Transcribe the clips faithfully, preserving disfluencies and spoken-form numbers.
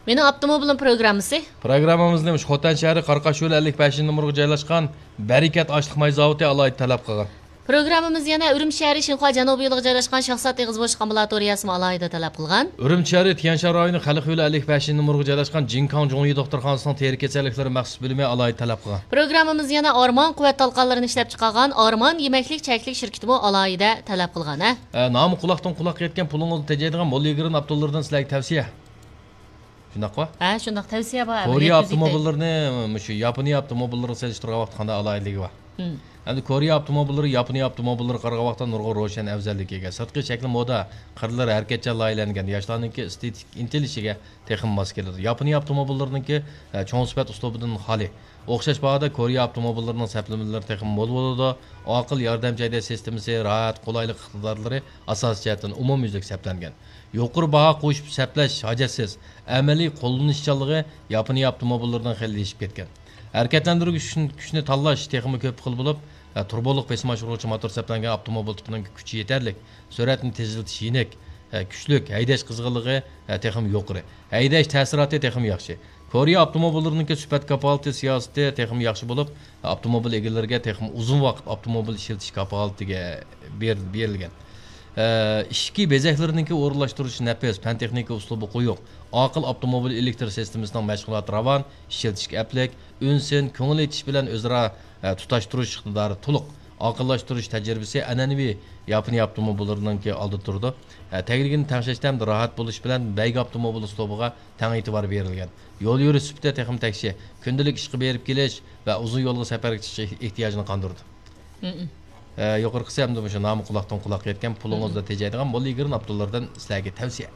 مېنىڭ ئاپتوموبىلىم پروگراممىسى. پروگراممىمىزنى مۇشۇ خوتەن شەھىرى قاراقاش يولى ئەللىك بەشىنچى نومۇرغا جايلاشقان بەرىكەت ئاشلىق ماي زاۋۇتى ئالاھىدە تەلەپ قىلغان. پروگراممىمىز يەنە ئۈرۈمچى شەھىرى شىنخۇا جەنۇبىي يولىغا جايلاشقان شاخسات ئېغىز بوشلۇق ئامبۇلاتورىيەسىمۇ ئالاھىدە تەلەپ قىلغان. ئۈرۈمچى شەھىرى تيەنشان رايونى خەلق يولى ئەللىك بەشىنچى نومۇرغا جايلاشقان جىنكاڭ جۇڭيى دوختۇرخانىسىنىڭ تېرە كېسەللىكلىرى مەخسۇس بۆلۈمى ئالاھىدە تەلەپ قىلغان. پروگراممىمىز يەنە ئارمان قۇۋۋەت تالقانلىرىنى ئىشلەپچىقارغان ئارمان يېمەكلىك چەكلىك شىركىتىمۇ ئالاھىدە تەلەپ قىلغان، ھە. ئە، نامى قۇلاقتىن قۇلاققا يەتكەن، پۇلىڭىزنى تېجەيدىغان موللىگرىن ئاپتولىرىدىن سىلەرگە تەۋسىيە. شۇنداققۇ؟ ھە، شۇنداق، تەۋسىيە بار. كورېيە ئاپتوموبىللىرىنى مۇشۇ ياپونىيە ئاپتوموبىللىرىغا سېلىشتۇرغان ۋاقىتتا قانداق ئالاھىدىلىكى بار؟ مم. ئەمدى كورېيە ئاپتوموبىللىرى ياپونىيە ئاپتوموبىللىرىغا قارىغان ۋاقىتتا نۇرغۇن روشەن ئەۋزەللىككە ئىگە. سىرتقى شەكلى مودا، قىرلىرى ھەرىكەتچان لايىھەلەنگەن، ياشلارنىڭكى ئېستېتىك ئىنتىلىشىگە تېخىمۇ ماس كېلىدۇ. ياپونىيە ئاپتوموبىللىرىنىڭكى، ئە، چوڭ سۈپەت ئۇسلۇبىدىن خالىي. ئوخشاش باھادا كورېيە ئاپتوموبىللىرىنىڭ سەپلىمىلىرى تېخىمۇ مول بولىدۇ. ئاقىل ياردەمچى ھەيدەش سىستېمىسى، راھەت، قولايلىق ئىقتىدارلىرى ئاساسىي جەھەتتىن ئومۇميۈزلۈك سەپلەنگەن. يۇقىرى باھا قوشۇپ سەپلەش ھاجەتسىز، ئەمەلىي قوللىنىشچانلىقى ياپونىيە ئاپتوموبىللىرىدىن خېلى ئېشىپ كەتكەن. ھەرىكەتلەندۈرگۈچ كۈچنى، كۈچنى تاللاش تېخىمۇ كۆپ خىل بولۇپ، تۇرۇبولۇق بېسىم ئاشۇرغۇچ موتور سەپلەنگەن ئاپتوموبىل تىپىنىڭ كۈچى يېتەرلىك، سۈرئەتنى تېزلىتىش يېنىك، كۈچلۈك، ھەيدەش قىزغىنلىقى تېخىمۇ يۇقىرى، ھەيدەش تەسىراتى تېخىمۇ ياخشى. كورېيە ئاپتوموبىللىرىنىڭكى سۈپەت كاپالىتى سىياسىتى تېخىمۇ ياخشى بولۇپ، ئاپتوموبىل ئىگىلىرىگە تېخىمۇ ئۇزۇن ۋاقىت ئاپتوموبىل ئىشلىتىش كاپالىتىگە بېر-، بېرىلگەن. ئىچكى بېزەكلىرىنىڭكى ئورۇنلاشتۇرۇشى نەپىس، پەن تېخنىكا ئۇسلۇبى قويۇق، ئاقىل ئاپتوموبىل ئېلېكتر سىستېمىسىنىڭ مەشغۇلاتى راۋان، ئىشلىتىشكە ئەپلىك، ئۈنسىن، كۆڭۈل ئېچىش بىلەن ئۆزئارا، ئە، تۇتاشتۇرۇش ئىقتىدارى تولۇق، ئاقىللاشتۇرۇش تەجرىبىسى ئەنئەنىۋى ياپونىيە ئاپتوموبىللىرىنىڭكى ئالدىدا تۇرىدۇ. ئە، تەگلىكىنى تەڭشەشتە ھەمدە راھەت بولۇش بىلەن بەيگە ئاپتوموبىل ئۇسلۇبىغا تەڭ ئېتىبار بېرىلگەن. يول يۈرۈش سۈپىتى تېخىمۇ تەكشى. كۈندىلىك ئىشقا بېرىپ كېلىش ۋە ئۇزۇن يولغا سەپەرگە چىقىش ئېھتىياجىنى قاندۇرىدۇ. مم. ئە، يۇقىرىقىسى ئەمدى مۇشۇ نامى قۇلاقتىن قۇلاققا يەتكەن، پۇلىڭىزدا مم. تېجەيدىغان موللىگرىن ئاپتولىرىدىن سىلەرگە تەۋسىيە.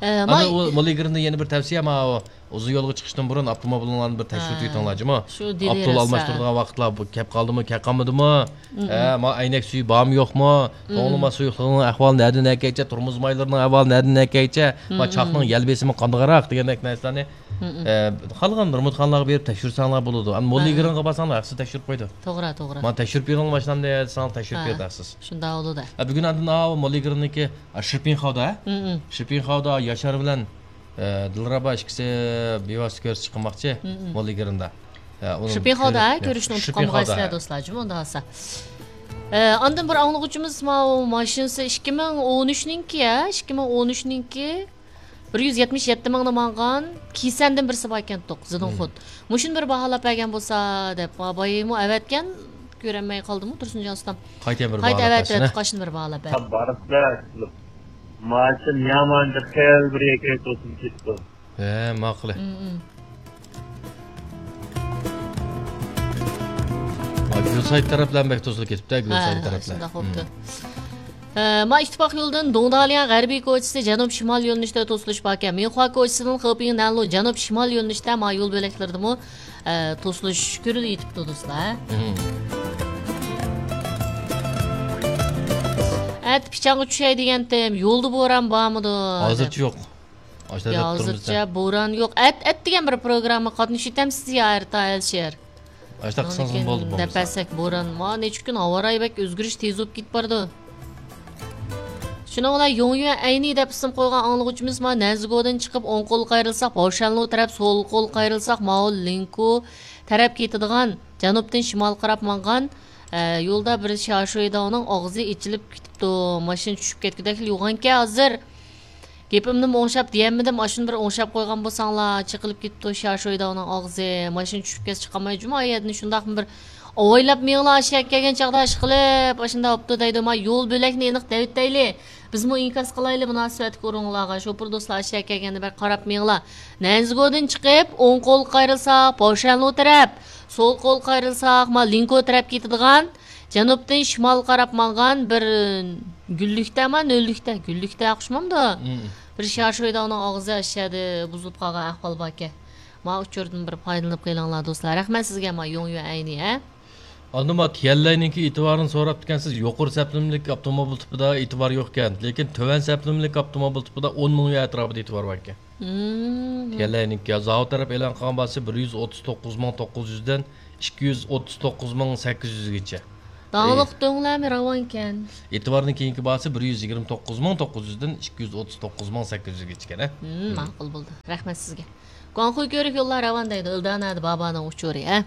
ئە، ئاندىن ماي- ئۇ موللىگرىندىن يەنە بىر تەۋسىيە، ماۋۇ ئۇزۇن يولغا چىقىشتىن بۇرۇن ئاپتوموبىلىڭلارنى بىر تەكشۈرتۈۋېتىڭلار، ھە. جۇمۇ. شۇ ئاپتول دېۋېرسا. ئالماشتۇرىدىغان ۋاقىتلار بۇ كەپ قالدىمۇ، كەپ قالمىدىمۇ؟ مم. ئە، ما ئەينەك سۈيى بارمۇ، يوقمۇ؟ مم. توڭلىما سۇيۇقلۇقىنىڭ ئەھۋالى نەدىن نەكەيچە، تورمۇز مايلىرىنىڭ ئەھۋالى نەدىن نەكەيچە، ما مم. چاقنىڭ يەل بېسىمى قانداقراق دېگەندەك نەرسىلەرنى، مم. ئە، خالىغان بىر مۇتخانىلارغا بېرىپ تەكشۈرسەڭلار بولىدۇ. ئەمما ھە. موللىگرىنغا بارساڭلار ھەقسىز تەكشۈرۈپ قويىدۇ. توغرا، توغرا. مانا تەكشۈرۈپ بېرىڭلار ماشىنامنى دېسەڭلار تەكشۈرۈپ ھە. بېرىدۇ ھەقسىز. شۇنداق بولىدۇ. ئە، بۈگۈن ئاندىن ئاۋۇ موللىگرىننىڭكى، ئا، شىرپىنخاۋدا، ھە؟ مم. شىرپىنخاۋدا ياشار بىلەن، ئە، دىلرەبا ئىككىسى بىۋاسىتە كۆرۈشۈپ چىقماقچى مم. موللىگرىندا. ئە، ئۇنىڭ شىرپىنخاۋدا، كۆرۈپ، ھە، كۆرۈشنى ئۇنتۇپ شىرپىنخاۋدا، قالمىغايسىلەر ھە. دوستلار، جۇمۇ ئۇنداق بولسا. ئە، ئاندىن بىر ئاڭلىغۇچىمىز ماۋۇ ماشىنىسى ئىككى مىڭ ئون ئۈچنىڭكى، ھە، ئىككى مىڭ ئون ئۈچنىڭكى بىر يۈز يەتمىش يەتتە مىڭنى ماڭغان كىسەندىن بىرسى باركەنتۇق، زىدىنخۇت. مم. مۇشۇنى بىر باھالاپ بەرگەن بولسا دەپ، بايىمۇ ئەۋەتكەن، كۆرەلمەي قالدىمۇ تۇرسۇنجان ئۇستام. قايتا بىر قايتا باھالاپ ئەۋەتتى، بەرسىنە. قاچىنى بىر باھالاپ بەردى. بارسىلەر، ماشىنا يامان خېلى بىر يەرگە توسۇپ كېتىپتۇ. ھە، ماقۇل. مم، مم. ھە، گۈلسايت تەرەپلەرمۇ بەك توسۇلۇپ كېتىپتۇ، ھە، گۈلسايت ھە، تەرەپلەر. شۇنداق بوپتۇ. مم. ھە، ما ئىتتىپاق يولىدىن دۇڭدالياڭ غەربىي كوچىسى جەنۇب شىمال يۆنىلىشتە توسۇلۇش باركەن. مىنخۇا كوچىسىدىن خېپىڭ نەنلۇ جەنۇب شىمال يۆنىلىشتە ما يول بۆلەكلىرىدىمۇ، ھە، توسۇلۇش كۆرۈلۈۋېتىپتۇ، دوستلار. مم. ئەتە پىچانغا چۈشەي دېگەنتىم، يولدا بوران بارمىدۇ؟ ھازىرچە دەپ. يوق. ئاشۇنداق يا، دەپ تۇرىمىز-دە. ھازىرچە بوران يوق. ئەت، ئەت دېگەن بىر پروگرامما قاتنىشىۋېتەمسىز يا، ئەرتا ئەلىشىر؟ ئاشۇنداق قىلسىڭىزمۇ بولدى، بولمىسا. نەپەسەك بوران. ما، نەچچە كۈن ھاۋا رايى بەك ئۆزگىرىش تېز بولۇپ كېتىپ بارىدۇ. شۇنىڭ بىلەن يوڭيۈەن ئەينى دەپ ئىسىم قويغان ئاڭلىغۇچىمىز ما نەنزىگودىن چىقىپ ئوڭ قولغا قايرىلساق باۋشەنلۇ تەرەپ، سول قولغا قايرىلساق ماۋۇ لىنكو تەرەپ كېتىدىغان جەنۇبتىن شىمالغا قاراپ ماڭغان، ئە، يولدا بىر شياشۇيداۋنىڭ ئاغزى ئېچىلىپ كېتىپتۇ. ماشىنا چۈشۈپ كەتكۈدەكلا يوغانكەن ھازىر. گېپىمنىمۇ ئوڭشاپ دېيەلمىدىم، ئاشۇنى بىر ئوڭشاپ قويغان بولساڭلار، چېقىلىپ كېتىپتۇ شياشۇيداۋنىڭ ئاغزى. ماشىنا چۈشۈپ كەتسە چىقالماي جۇمۇ ئايەردىن شۇنداقمۇ بىر ئاۋايلاپ مېڭىلا ئاشۇ يەرگە كەلگەن چاغدا ئىشقىلىپ، ئاشۇنداق بوپتۇ دەيدۇ. ما يول بۆلەكنى ئېنىق دەۋېتەيلى. بىزمۇ ئىنكاس قىلايلى مۇناسىۋەتلىك ئورۇنلارغا. شوپۇر دوستلار ئاشۇ يەرگە كەلگەندە بىر قاراپ مېڭىلا. نەنزىگودىن چىقىپ، ئوڭ قولغا قايرىلساق، پاۋشەنلۇ تەرەپ، سول قولغا قايرىلساق، ما لىنكو تەرەپ كېتىدىغان جەنۇبتىن شىمالغا قاراپ ماڭغان بىر گۈللۈكتە، ما نۆللۈكتە، گۈللۈكتە ئوخشىمامدۇ؟ مم. بىر شياشۇيداۋنىڭ ئاغزى ئاشۇ يەردە بۇزۇلۇپ قالغان ئەھۋال باركەن. ما ئۇچۇردىن بىر پايدىلىنىپ قېلىڭلار دوستلار. رەھمەت سىزگە، ما يوڭيۈەن ئەينى، ھە؟ ئاندىن ما تيەنلەينىڭكى ئېتىبارىنى سوراپتىكەنسىز. يۇقىرى سەپلىمىلىك ئاپتوموبىل تىپىدا ئېتىبار يوقكەن، لېكىن تۆۋەن سەپلىمىلىك ئاپتوموبىل تىپىدا ئون مىڭ يۈەن ئەتراپىدا ئېتىبار باركەن. مم. تيەنلەينىڭكى زاۋۇت تەرەپ ئېلان قىلغان باھاسى بىر يۈز ئوتتۇز توققۇز مىڭ توققۇز يۈزدىن ئىككى يۈز ئوتتۇز توققۇز مىڭ سەككىز يۈزگىچە. داڭلىق ئەي. دۆڭلەرمۇ راۋانكەن. ئېتىبارنىڭ كېيىنكى باھاسى بىر يۈز يىگىرمە توققۇز مىڭ توققۇز يۈزدىن ئىككى يۈز ئوتتۇز توققۇز مىڭ سەككىز يۈزگىچىكەن، ھە؟ ھىم، مم. ماقۇل بولدى. رەھمەت سىزگە. گۇاڭخۇي كۆۋرۈك يوللار راۋان دەيدۇ. ئىلدانەدە بابانىڭ ئۇچۇرى، ھە؟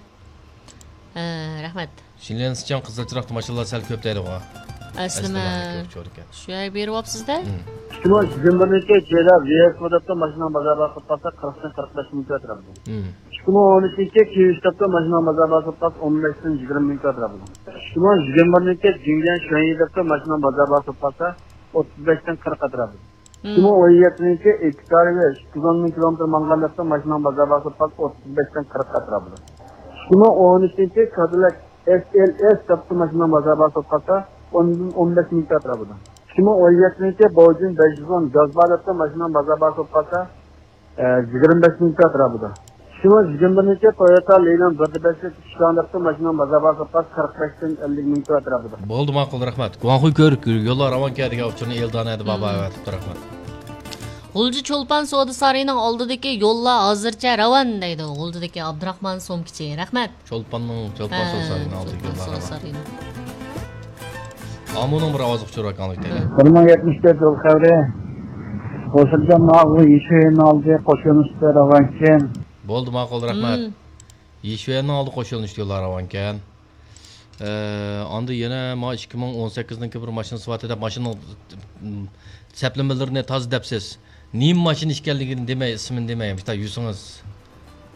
ھە، رەھمەت. شىنليەن سىچاڭ قىزىل چىراغدا ماشىنىلار سەل كۆپ دەيدىغۇ. ئەسلىمە. ئەسلىمە كۆپ ئۇچۇرىكەن. شۇ يەرگە بېرىۋاپسىز-دە. مم. ئىككى مىڭ يىگىرمە بىرىنچى يىلى ۋىيەسكو دەپتۇ ماشىنىنىڭ بازار باھاسى قالسا قىرىقتىن قىرىق بەش مىڭ كۆتۈرەپتۇ. مم. ئىككى مىڭ ئون ئۈچىنچى كىۋىش دەپتۇ ماشىنىنىڭ بازار باھاسى قالسا ئون بەشتىن يىگىرمە مىڭ كۆتۈرەپتۇ. ئىككى مىڭ يىگىرمە بىرىنچى جىڭجيەن شۈەنيى دەپتۇ ماشىنىنىڭ بازار باھاسى قالسا ئوتتۇز بەشتىن قىرىق ئەتراپىدا. ئىككى مىڭ ئون يەتتىنچى ئېكتارى ئىككى يۈز ئون مىڭ كىلومېتىر ماڭغان دەپتۇ ماشىنىنىڭ بازار باھاسى قالسا ئوتتۇز بەشتىن قىرىق ئەتراپىدا. ئىككى مىڭ ئون ئۈچىنچى كادىلاك ئېس ئېل ئېس دەپتۇ ماشىنىنىڭ بازار باھاسى قالسا ئون، ئون بەش مىڭ ئەتراپىدا. ئىككى مىڭ ئون يەتتىنچى بوجۈن بەش يۈز ئون گاز بار دەپتۇ ماشىنىنىڭ بازار باھاسى قالسا، ئە، يىگىرمە بەش مىڭ ئەتراپىدا. ئىككى مىڭ يىگىرمە بىرىنچى تويوتا لىنىڭ بىر دە بەش ئىشلان دەپتۇ ماشىنىنىڭ بازار باھاسى قالسا قىرىق بەشتىن ئەللىك مىڭ ئەتراپىدا. بولدى، ماقۇل، رەھمەت. گۇاڭخۇي كۆۋرۈك يوللار راۋانكەن دېگەن ئۇچۇرنى ئېلدانە ھەدە بابا ئەۋەتىپتۇ، رەھمەت. غۇلجا چولپان سودا سارىيىنىڭ ئالدىدىكى يوللار ھازىرچە راۋان دەيدۇ. غۇلجىدىكى ئابدۇراخمان سومكىچى. رەھمەت. چولپاننىڭ، چولپان ھە، سودا سارىيىنىڭ ئالدىدىكى چولپان يوللار سودا راۋان. سارىيىنىڭ. ئامۇنىڭ بىر ئاۋازلىق ئۇچۇرى ئاكاڭلىك دەيلى. بىر مىڭ يەتمىش تۆت يول خەۋىرى. قوشۇلغان ماغۇ يېشىۋېنىڭ ئالدى قوشۇلۇشتا راۋانكەن. بولدى، ماقۇل، رەھمەت. مم. يېشىۋېنىڭ ئالدى قوشۇلۇشتا يوللار راۋانكەن. ئە، ئاندىن يەنە ما ئىككى مىڭ ئون سەككىزنىڭكى بىر ماشىنىسى بار دەپ ماشىنىنىڭ، م، سەپلىمىلىرىنى تازا دەپسىز. نېمە ماشىنا ئىكەنلىكىنى دېمەي، ئىسمىنى دېمەي، بىر يۈرسىڭىز.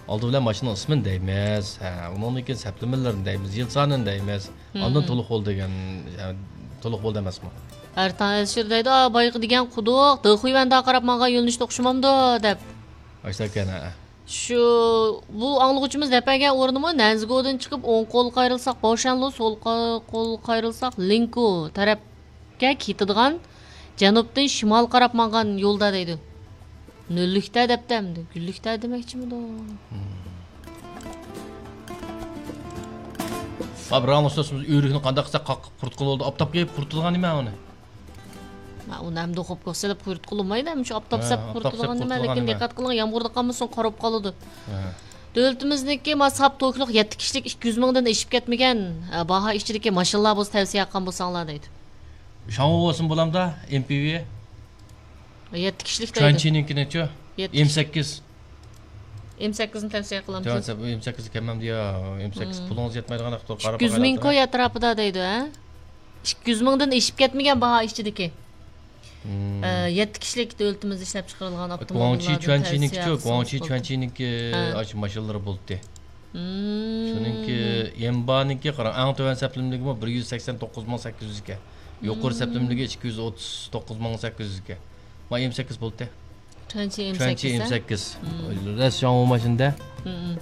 ئالدى بىلەن ماشىنىنىڭ ئىسمىنى دەيمىز. ھە، ئۇنىڭدىن كېيىن سەپلىمىلىرىنى دەيمىز، يىل سانىنى دەيمىز. ئاندىن مم. تولۇق بولدى دېگەن، يەنى تولۇق بولدى ئەمەسمۇ؟ ئەرتاڭ ئەلىشىر دەيدۇ، ئا، بايىقى دېگەن قۇدۇق، دېخۇيۋەندە قاراپ ماڭغان يۆنىلىشتە ئوخشىمامدۇ دەپ. ئاشۇنداق ئىكەن، ھە. شۇ، بۇ ئاڭلىغۇچىمىز دەپ بەرگەن ئورنىمۇ نەنزىگودىن چىقىپ ئوڭ قولغا قايرىلساق باۋشەنلۇ، سول قا-، قولغا قايرىلساق لىنكو تەرەپكە كېتىدىغان جەنۇبتىن شىمالغا قاراپ ماڭغان يولدا دەيدۇ. نۆللۈكتە دەپتۇ ئەمدى. گۈللۈكتە دېمەكچىمىدۇ؟ ھا، بىراۋنىڭ سۆزىمىز ئۆرۈكنى قانداق قىلساق قاققا قۇرۇتقىلى بولىدۇ؟ ئاپتاپقا يېپىپ قۇرۇتىدىغان نېمە ئۇنى؟ ھا، ئۇنى ئەمدى خوپكىغا سېلىپ قۇرۇتقىلى بولمايدۇ، شۇ ئاپتاپقا ھە، سېلىپ ئاپتاپقا سېلىپ قۇرۇتىدىغان نېمە، قۇرۇتىدىغان لېكىن نېمە؟ دىققەت قىلىڭ، يامغۇردا قالمىسۇن، قارىپ قالىدۇ. ھە. دۆلىتىمىزنىڭكى ما ساپ توكلۇق يەتتە كىشىلىك ئىككى يۈز مىڭدىن ئېشىپ كەتمىگەن، ئە، باھا ئىچىدىكى ماشىنىلار بولسا تەۋسىيە قىلغان بولساڭلار دەيدۇ. شاڭۋو بولسا بولامدا، ئېم پى ۋى؟ يەتتە كىشىلىك دەيدۇ. چۈەنچىنىڭكىنىچۇ؟ يەتتە ئېم سەككىز. ئېم سەككىزنى تەۋسىيە قىلامسىز؟ تەۋسىيە، ئېم سەككىز كەممەمدۇ يا؟ ئېم سەككىز مم. پۇلىڭىز يەتمەيدىغان ۋاقىتتا قاراپ ئىككى يۈز مىڭ باقايلى. كوي ئەتراپىدا دەيدۇ، ھە؟ ئىككى يۈز مىڭدىن ئېشىپ كەتمىگەن باھا ئىچىدىكى. مم. ئە، يەتتە كىشىلىك دۆلىتىمىزدە ئىشلەپ چىقىرىلغان گۇاڭچى ئاپتوموبىللاردىن چۈەنچىنىڭكىچۇ، تەۋسىيە گۇاڭچى قىلسىڭىز بولدى. چۈەنچىنىڭكى ھە. ئاشۇ ماشىنىلىرى بولدى. مم. شۇنىڭكى يەنبانىڭكى قاراڭ، ئەڭ تۆۋەن سەپلىمىلىكىمۇ بىر يۈز سەكسەن توققۇز مىڭ سەككىز يۈز ئىكەن. يۇقىرى مم. سەپلىمىلىكى ئىككى يۈز ئوتتۇز توققۇز مىڭ سەككىز يۈز ئىكەن. ما ئېم سەككىز بولدى. چۈەنچى ئېم سەككىز، چۈەنچى ئېم سەككىز. مم. رەس شاڭۋۇ ماشىنىدا. مم.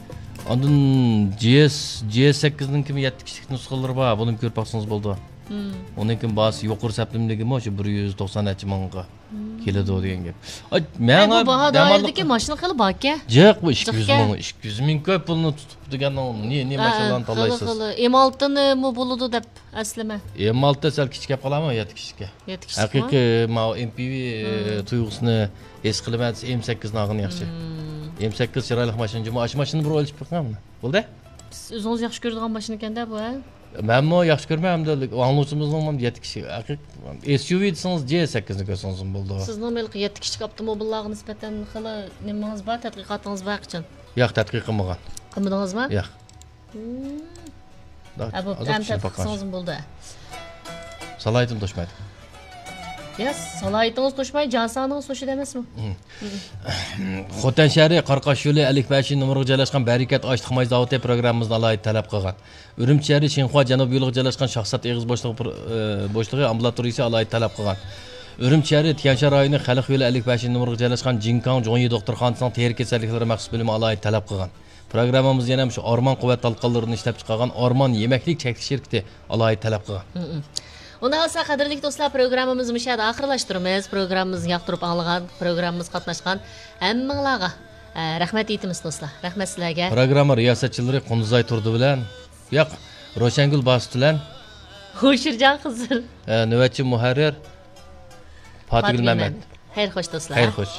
ئاندىن جي ئېس، جي ئېس سەككىزنىڭكىمۇ يەتتە كىشىلىك نۇسخىلىرى بار. بۇنىمۇ كۆرۈپ باقسىڭىز بولىدۇ. مم. ئۇنىڭكىمۇ باھاسى يۇقىرى سەپلىمىلىكىمۇ شۇ بىر يۈز توقسان نەچچە مىڭغا مم. كېلىدۇ دېگەن گەپ. ئاي، ماڭا بۇ باھا دائىرىدىكى ماشىنا خېلى باركەن. جىق، بۇ ئىككى يۈز مىڭ، جىق ئىككى يۈز مىڭ كۆپ پۇلنى تۇتۇپتۇ دېگەن، نېمە، نېمە ھە، ماشىنىلارنى خېلى، تاللايسىز؟ خېلى. ئېم ئالتىنىمۇ بولىدۇ دەپ ئەسلىمە. ئېم ئالتە سەل كىچىك كەپ قالامۇ، يەتتە كىشىلىككە؟ يەتتە كىشىلىكمۇ؟ ھەقىقىي ماۋۇ ئېم پى ۋى، مم. تۇيغۇسىنى ھېس قىلىمەن دېسە، ئېم سەككىزنى ئالغىنى ياخشى. مم. ئېم سەككىز چىرايلىق ماشىنا، جۇمۇ ئاشۇ ماشىنىنى بىر ئويلىشىپ بېقىڭ. بولدى؟ سىز ئۆزىڭىز ياخشى كۆرىدىغان ماشىنا ئىكەن-دە بۇ، ھە؟ مەنمۇ ياخشى كۆرىمەن، ئەمدى ئاڭلىغۇچىمىزنىڭ يەتتە كىشى. ھەقىقىي ئېس يۇ ۋى دېسىڭىز، جي ئېس سەككىزنى كۆرسىڭىزمۇ بولىدۇ. سىزنىڭ ھېلىقى يەتتە كىشىلىك ئاپتوموبىللارغا نىسبەتەن خېلى نېمىڭىز بار، تەتقىقاتىڭىز بار قاچان؟ ياق، تەتقىق قىلمىغان. قىلمىدىڭىزمۇ؟ ياق. مم. ھە، بوپتۇ، ئەمدى تەتقىق قىلسىڭىزمۇ بولدى. سالاھىيىتىم توشمايدۇ. يا، سالاھىيىتىڭىز توشماي، جان سانىڭىز توشىدۇ ئەمەسمۇ؟ مم. مم. خوتەن شەھىرى قاراقاش يولى ئەللىك بەشىنچى نومۇرغا جايلاشقان بەرىكەت ئاشلىق ماي زاۋۇتى پروگراممىمىزنى ئالاھىدە تەلەپ قىلغان. ئۈرۈمچى شەھىرى شىنخۇا جەنۇب يولىغا جايلاشقان شاھزات ئېغىز بوشلۇقى پرو-، ئى، بوشلۇقى ئامبۇلاتورىيىسى ئالاھىدە تەلەپ قىلغان. ئۈرۈمچى شەھىرى تيەنشان رايونى خەلق يولى ئەللىك بەشىنچى نومۇرغا جايلاشقان جىنكاڭ جۇڭيى دوختۇرخانىسىنىڭ تېرە كېسەللىكلىرى مەخسۇس بۆلۈمى ئالاھىدە تەلەپ قىلغان. پروگراممىمىزدا يەنە مۇشۇ ئارمان قۇۋۋەت تالقانلىرىنى ئىشلەپچىقارغان ئارمان يېمەكلىك چەكلىك شىركىتى ئالاھىدە تەلەپ قىلغان. مم. ئۇنداق بولسا، قەدىرلىك دوستلار، پروگراممىمىزنى مۇشۇ يەردە ئاخىرلاشتۇرىمىز. پروگراممىمىزنى ياقتۇرۇپ ئاڭلىغان، پروگراممىمىزغا قاتناشقان ھەممىڭلارغا، ئە، رەھمەت ئېيتىمىز، دوستلار. رەھمەت سىلەرگە. پروگرامما رىياسەتچىلىرى قۇندۇزئاي تۇردى بىلەن، ياق، روشەنگۈل باسىت بىلەن، ھوشۇرجان قىزىل، ئە، نۆۋەتچى مۇھەررىر پاتىگۈل مەمەت. خەير خوش، دوستلار. خەير خوش.